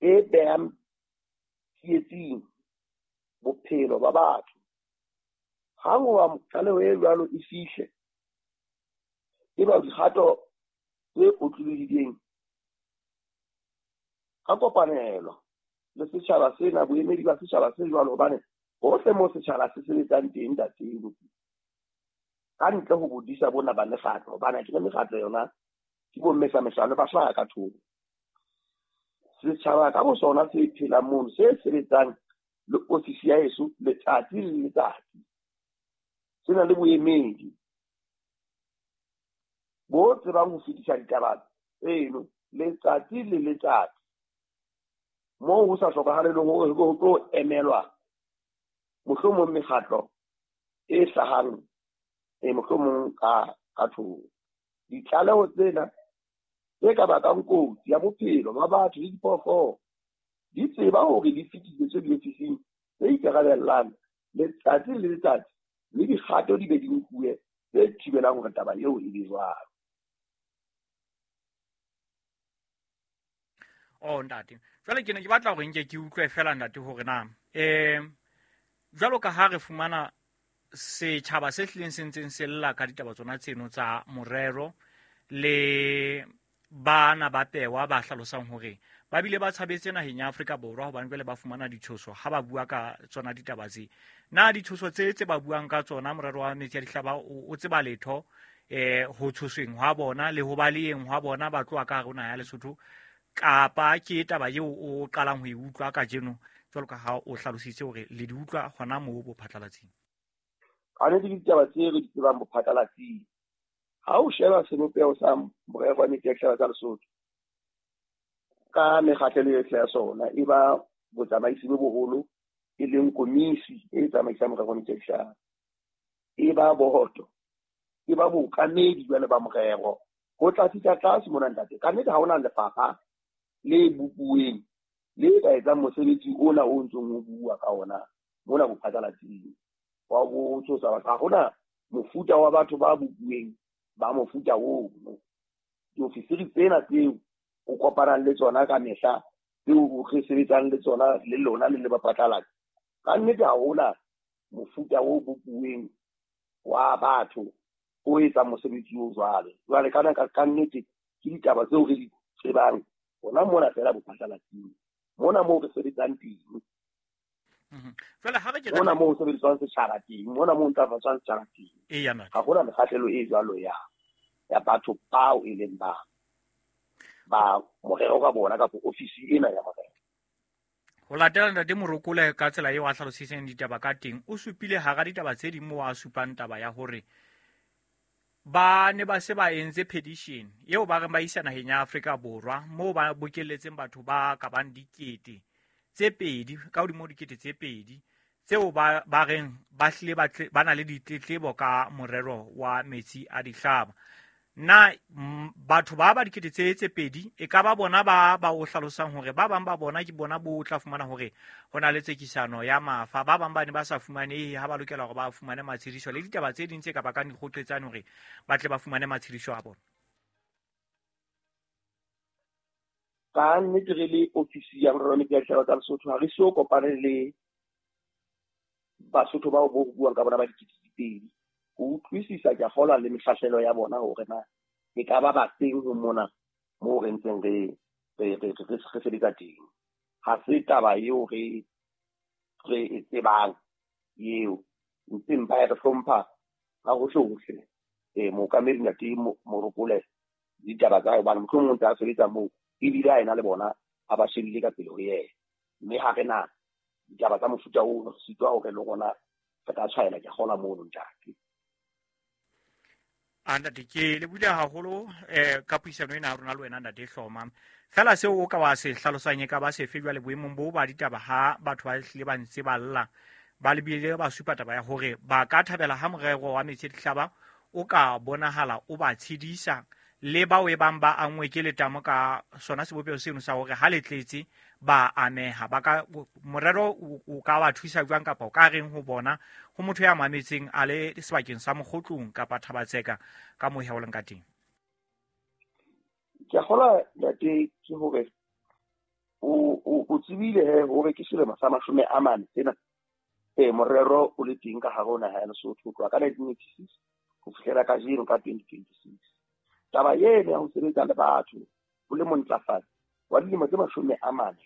E behang tsietsing bophelo ba batho. Hang hoba tlaleho e jwalo e fihle, eba dikgato tse otlolohileng ka kopanelo le setjhaba sena, boemedi ba setjhaba se jwalo, hobane hohle moo setjhaba se sebetsang teng, ntate, ka ntle ho bodisa bona ba mekgatlo, hobane akere mekgatlo yona ke bo mmesamehlano ba hlaha ka thoko. Setjhaba ka bosona se phelang mono, se sebetsang le ofisi ya heso letsatsi le letsatsi, se na le boemedi bo tsebang ho fetisa ditaba tseno letsatsi le letsatsi, moo ho sa hlokahale le hore ho tlo emelwa mohlomong mekgatlo e hlahang e mohlomong ka thoko. Ditlaleho tsena tse ka bakang kotsi ya bophelo ba batho le diphoofolo di tseba hore di fetisetswe diofising tse ikarabellang letsatsi le letsatsi, mme dikgato di be di nkuwe tse thibelang hore taba eo e be jwalo. Oh ntate, jwale ke ne ke batla hore nke ke utlwe fela ntate hore na jwalo ka ha re fumana setjhaba se hlileng se ntseng se lla ka ditaba tsona tseno tsa morero le bana ba pewa ba hlalosang hore ba bile ba tshabetse naheng ya Afrika Borwa hobane jwale ba fumana ditshoso ha ba bua ka tsona ditaba tse. Na ditshoso tse tse ba buang ka tsona morero wa metsi a dihlaba o tseba letho ho tshosweng hwa bona le ho baleheng hwa bona ba tloha ka hare ho naha ya Lesotho, kapa ke taba eo o qalang ho e utlwa kajeno jwalo ka ha o hlalositse hore le di utlwa hona moo bophatlalatsing? Ka nnete ke ditaba tse re di tsebang bophatlalatsing. Ha o sheba sebopeho sa morero wa metsi a dihlaba tsa Lesotho ka mekgahlelo yohle ya sona, e ba botsamaisi bo boholo e leng komisi e tsamaisang morero wa metsi a dihlaba, e ba boto, e ba bookamedi jwale ba morero. Ho tla fihla tlase mona ntate, ka nnete ha hona lefapha le bopuweng le ka etsang mosebetsi ona o ntsong o bua ka ona mona bophatlalatsing wa ho tshosa batho. Ha hona mofuta wa batho ba bopuweng ba mofuta ono. Diofisiri tsena tseo o kopanang le tsona ka mehla, tseo re sebetsang le tsona le lona le le baphatlalatsi, ka nnete ha hona mofuta o bopuweng wa batho o etsang mosebetsi o jwalo. Jwale kana ka nnete ke ditaba tseo re di tsebang hona mona fela bophatlalatsing, mona moo re sebetsang teng. Jwale ha re ke mona moo ho sebediswang setjhaba teng, mona moo ntlafatswang setjhaba teng. Eya, ntate. Ha hona mekgahlelo e jwalo ya batho bao e leng ba morero ka bona kapa ofisi ena ya morero. Ho latela ntate Morokole ka tsela eo a hlalositseng ditaba ka teng, o supile hara ditaba tse ding moo a supang taba ya hore ba ne ba se ba entse petition eo ba reng ba isa naheng ya Afrika Borwa, moo ba bokelletseng batho ba ka bang dikete tse pedi, ka hodimo ho dikete tse pedi, tseo ba reng ba hlile ba na le ditletlebo ka morero wa metsi a dihlaba. Na batho ba dikete tse pedi e ka ba bona ba o hlalosang hore ba bang ba bona ke bona bo tla fumana hore ho na le tsekisano ya mafa, ba bang ba ne ba sa fumanehe ha ba lokela hore ba fumane matshediso le ditaba tse ding tse ka bakang dikgoqetsane hore ba tle ba fumane matshediso a bona? Ka nnete re le ofisi ya morero wa metsi a dihlaba tsa Lesotho ha re so kopane le Basotho bao bo buang ka bona ba dikete tse pedi. Ho utlwisisa ke a kgolwa le mehlahlelo ya bona hore na e ka ba bafeng ho mona moo re ntseng re sebetsa teng. Ha se taba eo re e tsebang eo, ntseng ba re hlompha ka hohle hohle. Mookamedi ntate Morokole ditaba tsa hae, hobane mohlomong o ntse a sebetsa moo ebile a ena le bona a ba shebile ka pele ho yena. Mme ha re na ditaba tsa mofuta oo, re sitwa hore le rona re ka tshwaela ke kgolwa mono ntate. A ntate, ke lebohile haholo ka puisano ena ya rona le wena ntate Hloma. Fela seo o ka wa se hlalosang e ka ba sefe jwale boemong bo ba ditaba ha batho ba hlile ba ntse ba lla, ba lebile ba supa taba ya hore ba ka thabela ha morero wa metsi a dihlaba o ka bonahala o ba tshedisa le bao e bang ba angwe ke letamo ka sona sebopeho seno sa hore ha le tletse ba ameha. Ba ka, morero o ka wa thusa jwang kapa o ka reng ho bona ho motho ya mametseng a le sebakeng sa Mokgotlong kapa Thabatseka ka moo o leng ka teng? Ke a kgolwa ntate ke hore tsebile he hore ke selemo sa 40 sena morero o le teng ka hare ho naha ya Lesotho ho tloha ka 1986 ho fihlela kajeno ka 2026. Taba eno ya ho sebetsa le batho o le montlafatsi wa dilemo tse 40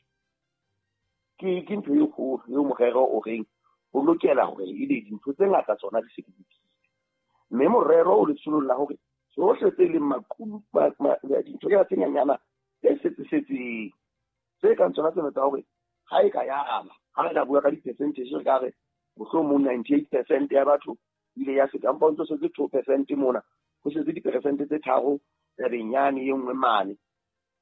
ke ntho e kgolo eo morero o reng ho lokela hore ebe dintho tse ngata tsona di se di lokile. Mme morero o letsholong la hore tsohle tse leng maqhubu dintho tse nyenyana tse setsesetseng tse kang tsona tsena tsa hore ha e ka ya ama, ha re ka bua ka di-percentage re ka re mohlomong 98% ya batho ile ya feta, empa ho ntso setse 2% mona, ho setse diperesente tse 3 tabeng yane e nngwe mane.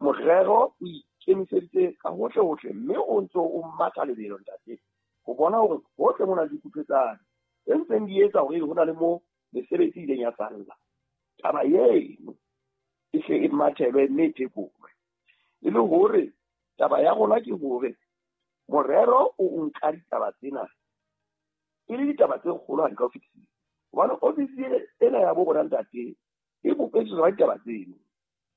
Morero o ikemiseditse ka hohle hohle, mme o ntso o matha lebelo ntate ho bona hore hohle mona dikutlwetsane tse ntseng di etsa hore ho na le mo mesebetsi e ileng ya salla. Taba eno e hle e mathelwe mme e phekolwe. E le hore taba ya rona ke hore morero o nka ditaba tsena e le ditaba tse kgolohadi ka ho fetisisa. Hobane ofisi ena ya bo rona ntate e bopetswe tsona ditaba tseno,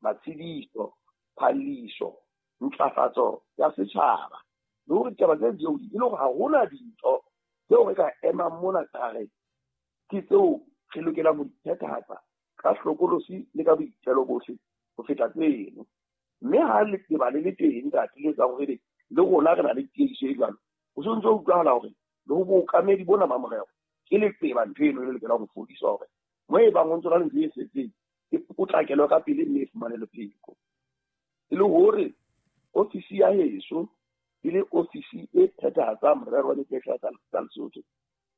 matshediso, phalliso, ntlafatso ya setjhaba, le hore ditaba tse di e le hore ha hona dintho tseo re ka emang mona ka re ke tseo re lokelang ho di phethahatsa ka hlokolosi le ka boitelo bohle ho feta tseno. Mme ha leqeba le le teng ntate le etsang hore le rona re na le tiiso e jwalo, ho se ntse ho utlwahala hore le ho bookamedi bona ba morero ke leqeba ntho eno e lokelang ho fodiswa hore mo e bang ho ntso na le ntho e setseng e potlakelwe ka pele mme e fumane le pheko. E le hore ofisi ya heso e le ofisi e phethahatsang morero wa dikehla tsa Lesotho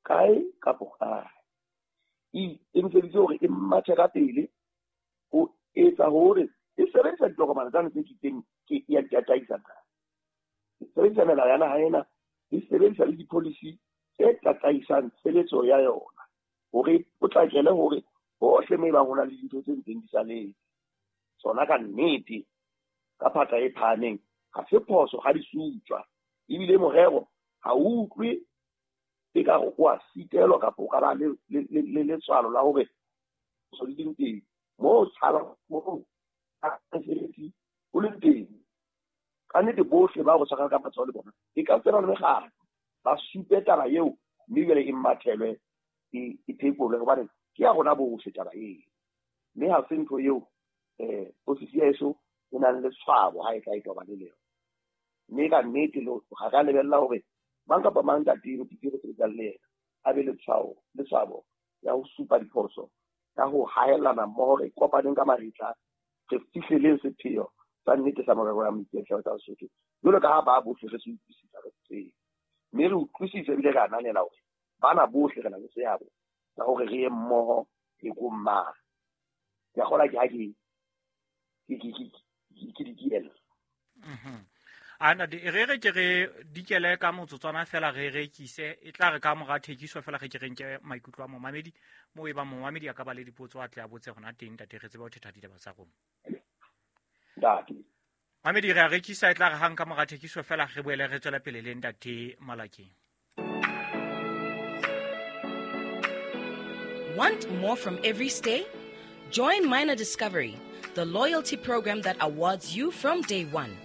kae kapo kae, e ikemiseditse hore e mathe ka pele ho etsa hore e sebedisa ditokomane tsane tse kitseng ke ya tataisa, e sebedisa melao ya naha ena, e sebedisa le di-policy tse tataisang tshebetso ya yona hore potlakele hore hohle mo e bang ho na le dintho tse ntseng di saletse tsona ka nnete ka phatla e phahameng ha se phoso ha di sutswa. Ebile morero ha o utlwe ekare o a sitelwa kapa o ka ba le letswalo la hore so di leng teng moo tshaba moo mesebetsi o leng teng. Ka nnete bohle ba go tshwarang ka matsoho le bona e ka tsena le mekgatlo ba supe taba eo, mme jwale e mathelwe e phekolwe hobane ke ya rona bohle taba eo. Mme ha se ntho eo ofisi ya heso e nang le tshwabo ha e tla e tobane le yona. Mme ka nnete ha ka lebella hore mang kapa mang ntate re sebetsang le yena a be le tshwabo ya ho supa diphoso ka ho haellana mmoho, re kopaneng ka mahetla re fihleleng sepheo sa nnete sa morero wa moiketlo tsa Lesotho jwalo ka ha ba bohle re se utlwisisa re tsebe, mme re utlwisise ebile re ananela hore bana bohle re na le seabo sa hore re ye mmoho phekong mane. Ke a kgolwa ke ha ke dikiela. Ana re ke re dikele ka motsotswana fela re rekise, e tla re ka mora thekiso fela re ke re nke maikutlo a momamedi mo e ba momamedi a ka ba le dipotso a tle a botse hona teng ntate re tsebe ho thetha ditaba tsa rona. Ntate Mamedi re a rekisa, e tla re hang ka mora thekiso fela re boele re tswele pele le ntate Malakeng. Want more from every stay? Join Minor Discovery, the loyalty program that awards you from day one.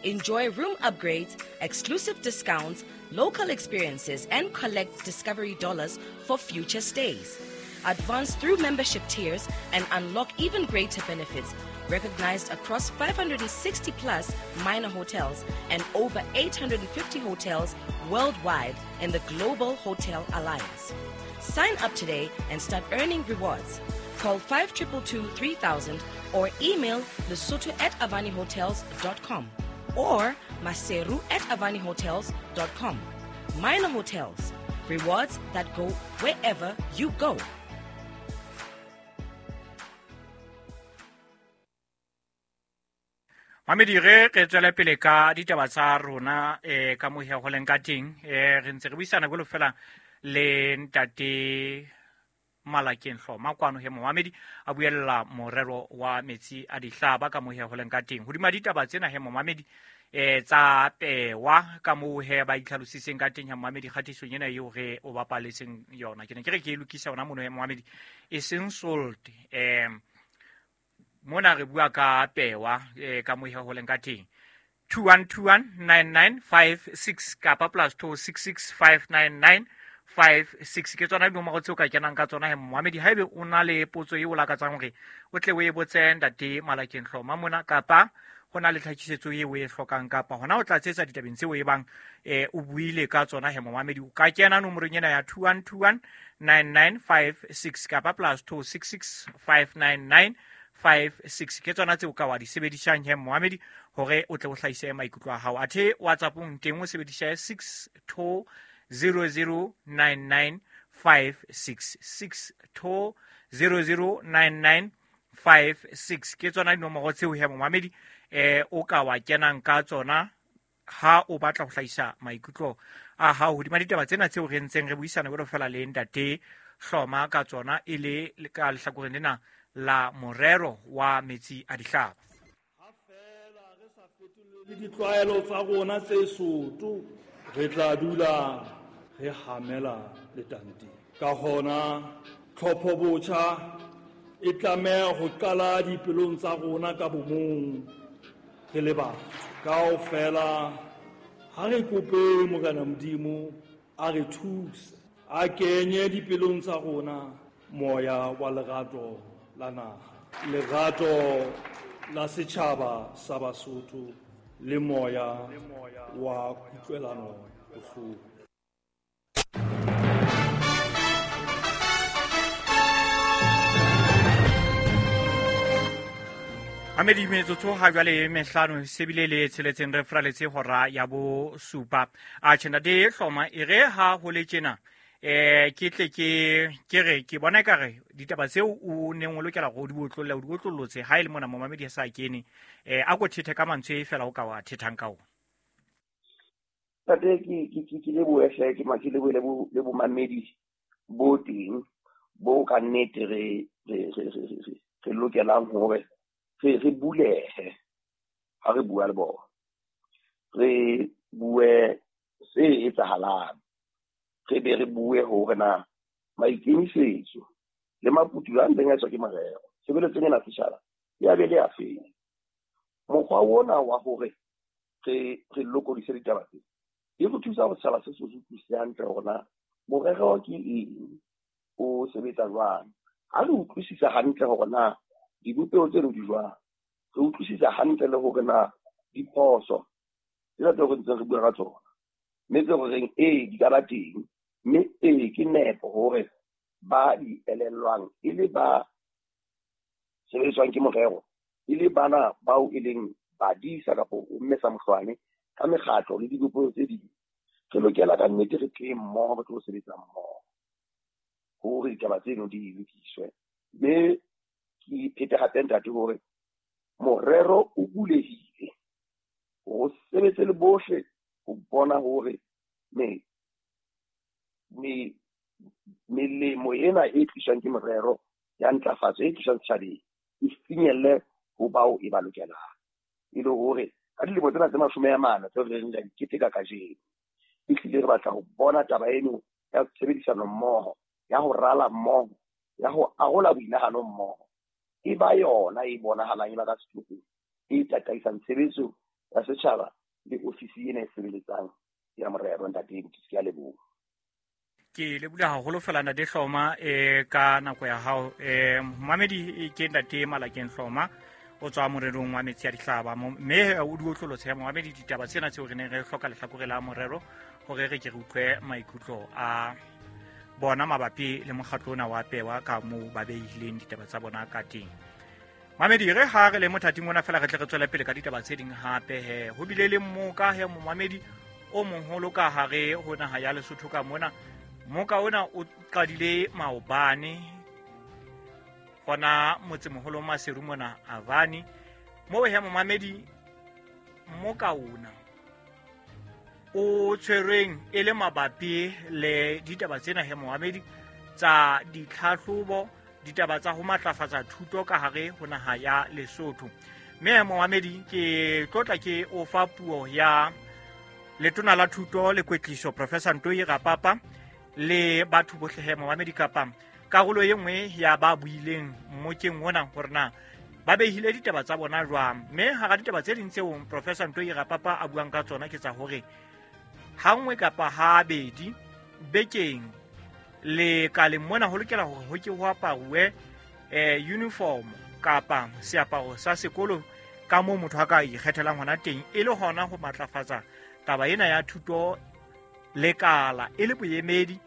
Enjoy room upgrades, exclusive discounts, local experiences, and collect Discovery dollars for future stays. Advance through membership tiers and unlock even greater benefits, recognized across 560 plus minor hotels and over 850 hotels worldwide in the Global Hotel Alliance. Sign up today and start earning rewards. Call 5222 3000 or email lesotho@avanihotels.com or maseru@avanihotels.com. Minor Hotels, rewards that go wherever you go. Mamedi re tswele pele ka ditaba tsa rona ka mohe ho leng ka teng. Re ntse re buisana jwalo fela le ntate Malakeng Hloma kwano he momamedi a buella morero wa metsi a dihlaba ka mohe ho leng ka teng. Hodima ditaba tsena he momamedi tsa pewa ka moo he ba itlhalositseng ka teng he momamedi kgatisong ena eo re o bapaletseng yona. Ke ne ke re ke e lokisa yona mono he momamedi e seng salt. Mona re bua ka pewa ka mohe ho leng ka teng. 21219956 kapa +266 599 56. Ke tsona dinomoro tseo ka kenang ka tsona he momamedi, haebe o na le potso eo o lakatsang hore o tle o e botse ntate Malakeng Hloma mona, kapa ho na le tlhakisetso eo o e hlokang, kapa hona o tlatsetsa ditabeng tseo e bang o buile ka tsona he momamedi, o ka kena nomorong ena ya 21219956 kapa +266 599 56. Ke tsona tseo ka wa di sebedisang he momamedi hore o tle o hlahise maikutlo a hao. Athe WhatsAppong teng o sebedisa 62009956, 62009956. Ke tsona dinomoro tseo he momamedi o ka wa kenang ka tsona ha o batla ho hlahisa maikutlo a hao hodima ditaba tsena tseo re ntseng re buisana jwalo fela le ntate Hloma ka tsona, e le ka lehlakoreng lena la morero wa metsi a dihlaba. Ha fela re sa fetolele ditlwaelo tsa rona tse soto, re tla dula re hamela letanteng. Ka hona tlhopho botjha e tlameha ho qala dipelong tsa rona ka bomong re le batho. Kaofela ha re kope Morena Modimo a re thuse, a kenye dipelong tsa rona moya wa lerato la naha, lerato la setjhaba sa Basotho le moya wa kutlwelano bohloko. Mamedi, metsotso ha jwale mehlano se bile le tsheletseng re fraletse hora ya bosupa. A tjhe ntate Hloma, e re ha ho le tjena ke tle ke re ke bona ekare ditaba tseo o neng o lokela hore o di otlolle, o di otlollotse ha e le mona momamedi a sa kene, a ko thethe ka mantswe e fela o ka wa thethang ka ona. Ntate, ke lebohe hle, ke ke lebohe le bomamedi bo teng bo ka nnete re lokelang hore re bulehe ha re bua le bona, re bue se etsahalang, re be re bue hore na maikemisetso le maputulo a ntseng a etswa ke morero tshebeletsong ena setjhaba ya be le a feng. Mokgwa ona wa hore re lokodise ditaba tse e re thusa hore setjhaba se se utlwisise hantle hore na morero ke eng, o sebetsa jwang. Ha re utlwisisa hantle hore na dibopeho tseno di jwang, re utlwisisa hantle le hore na diphoso tsena tseo re ntseng re bua ka tsona, mme tse re reng ee di ka ba teng, mme ee ke nepo hore ba di elellwang e le ba sebediswang ke morero, e le bana bao e leng badisa kapa o mme sa mohlwane ka mekgatlo le dibopeho tse ding, re lokela ka nnete re tle mmoho, re tlo sebetsa mmoho hore ditaba tseno di lokiswe. Mme ke phete hape ntate hore morero o bulehile hore o sebetse le bohle ho bona hore melemo ena e tliswang ke morero ya ntlafatso e tliswang setjhabeng e finyelle ho bao e ba lokelang, e le hore ka dilemo tsena tse 40 tseo re reng re di keteka kajeno, ehlile re batla ho bona taba eno ya tshebedisano mmoho, ya ho rala mmoho, ya ho arola boinahano mmoho e ba yona e bonahalang e ba ka sehlohong, e tataisang tshebetso ya setjhaba le ofisi ena e sebeletsang ya morero. Ntate, ke a leboha. Ke leboha haholo fela ntate Hloma ka nako ya hao. Momamedi ke ntate Malakeng Hloma, o tswa morerong wa metsi a dihlaba, mme o di otlolotse ya momamedi ditaba tsena tseo re neng re hloka lehlakore la morero hore re ke re utlwe maikutlo a bona mabapi le mokgatlo ona wa pewa ka moo ba behileng ditaba tsa bona ka teng. Mamedi, re ha re le mothating ona fela re tle re tswele pele ka ditaba tse ding hape he. Ho bile le mmoka he momamedi o moholo ka hare ho naha ya Lesotho ka mona. Mmoka ona o qadile maobane hona motsemoholo Maseru mona Avani. Moo he momamedi mmoka ona o tshwerweng e le mabapi le ditaba tsena he momamedi tsa ditlhahlobo, ditaba tsa ho matlafatsa thuto ka hare ho naha ya Lesotho. Mme momamedi ke tlotla ke o fa puo ya letona la thuto le kwetliso Professor Ntoi Rapapa le batho bohle he momamedi kapa karolo e nngwe ya ba buileng mmokeng ona hore na ba behile ditaba tsa bona jwang. Mme hara ditaba tse ding tseo Professor Ntoi Rapapa a buang ka tsona ke tsa hore hangwe kapa habedi bekeng lekaleng mona ho lokela hore ho ke ho aparuwe uniform kapa seaparo sa sekolo ka moo motho a ka ikgethelang hona teng, e le hona ho matlafatsa taba ena ya thuto lekala e le boemedi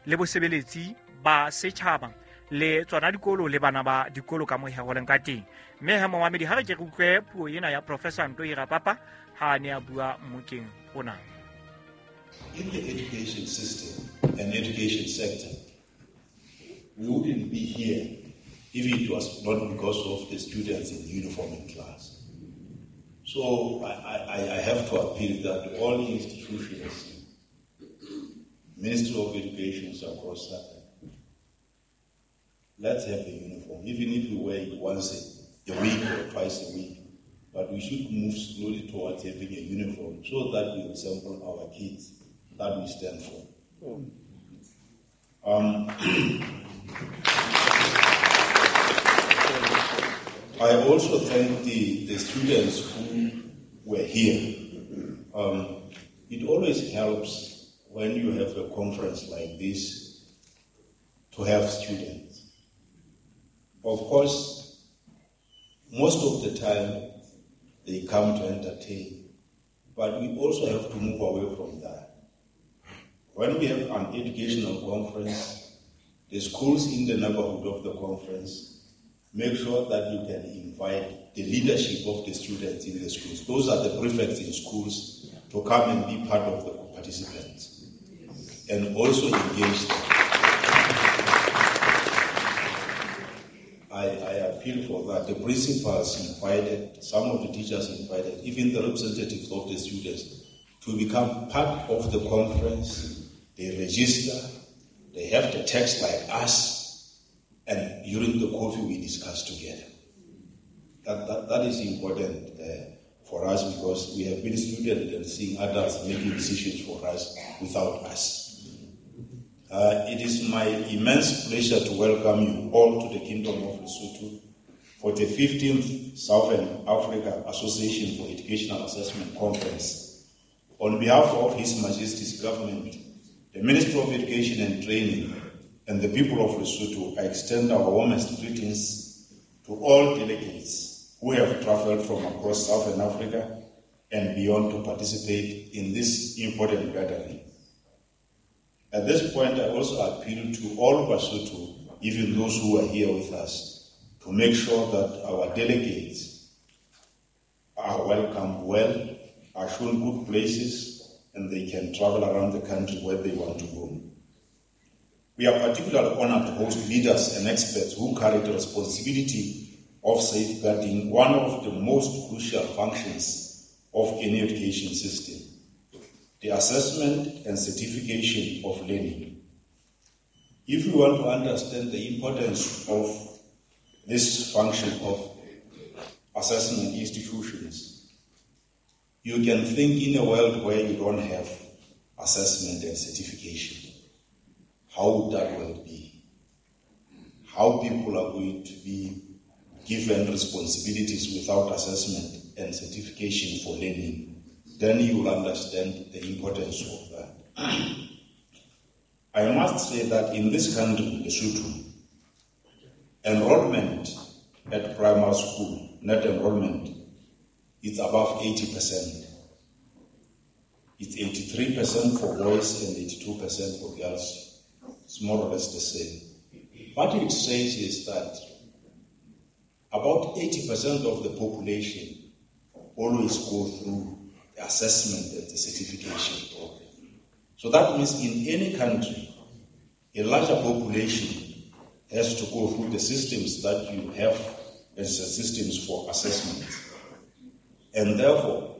le bosebeletsi ba setjhaba le tsona dikolo le bana ba dikolo ka mo heroleng ka teng. Mme he momamedi, ha re ke re utlwe puo ena ya Professor Ntoi Rapapa ha a ne a bua mmokeng ona. In the education system and education sector, we wouldn't be here if it was not because of the students in uniform in class. So I have to appeal that all institutions, Ministry of Education across South, let's have a uniform, even if we wear it once a week or twice a week. But we should move slowly towards having a uniform so that we resemble our kids that we stand for. I also thank the students who were here. It always helps when you have a conference like this to have students. Of course, most of the time they come to entertain, but we also have to move away from that. When we have an educational conference, the schools in the neighborhood of the conference, make sure that you can invite the leadership of the students in the schools. Those are the prefects in schools to come and be part of the participants and also engage them. I appeal for that. The principals invited, some of the teachers invited, even the representatives of the students to become part of the conference. They register, they have the text like us, and during the coffee we discuss together. That is important for us, because we have been students and seeing adults making decisions for us without us. It is my immense pleasure to welcome you all to the Kingdom of Lesotho for the 15th Southern Africa Association for Educational Assessment Conference. On behalf of His Majesty's Government, the Ministry of Education and Training, and the people of Lesotho, I extend our warmest greetings to all delegates who have traveled from across Southern Africa and beyond to participate in this important gathering. At this point, I also appeal to all Basotho, even those who are here with us, to make sure that our delegates are welcomed well, are shown good places, and they can travel around the country where they want to go. We are particularly honored to host leaders and experts who carry the responsibility of safeguarding one of the most crucial functions of any education system, the assessment and certification of learning. If you want to understand the importance of this function of assessment institutions, you can think in a world where you don't have assessment and certification. How would that world be? How people are going to be given responsibilities without assessment and certification for learning? Then you will understand the importance of that. I must say that in this country, Lesotho, enrollment at primary school, net enrollment, it's above 80%. It's 83% for boys and 82% for girls. It's more or less the same. What it says is that about 80% of the population always go through the assessment and the certification program. So that means in any country, a larger population has to go through the systems that you have as the systems for assessment. And therefore,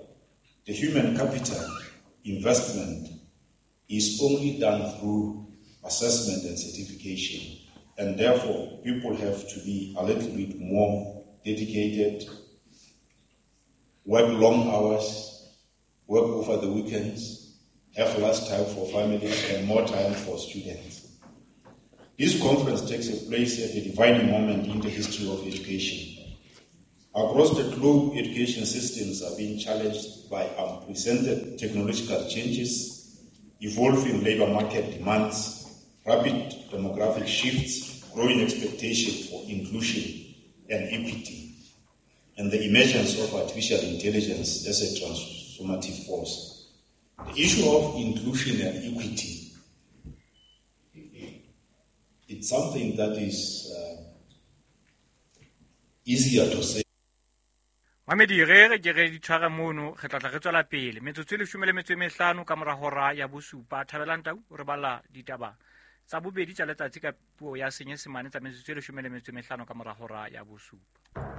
the human capital investment is only done through assessment and certification. And therefore, people have to be a little bit more dedicated, work long hours, work over the weekends, have less time for families and more time for students. This conference takes place at a defining moment in the history of education. Across the globe, education systems are being challenged by unprecedented technological changes, evolving labor market demands, rapid demographic shifts, growing expectations for inclusion and equity, and the emergence of artificial intelligence as a transformative force. The issue of inclusion and equity, it's something that is easier to say. Mamedi, re re ke re di tshware mono, re tla tla re tswela pele. Metsotso e 15 ka mora hora ya bosupa. Thabelang Tau o re bala ditaba tsa bobedi tsa letsatsi ka puo ya Senyesemane tsa metsotso e 15 ka mora hora ya bosupa.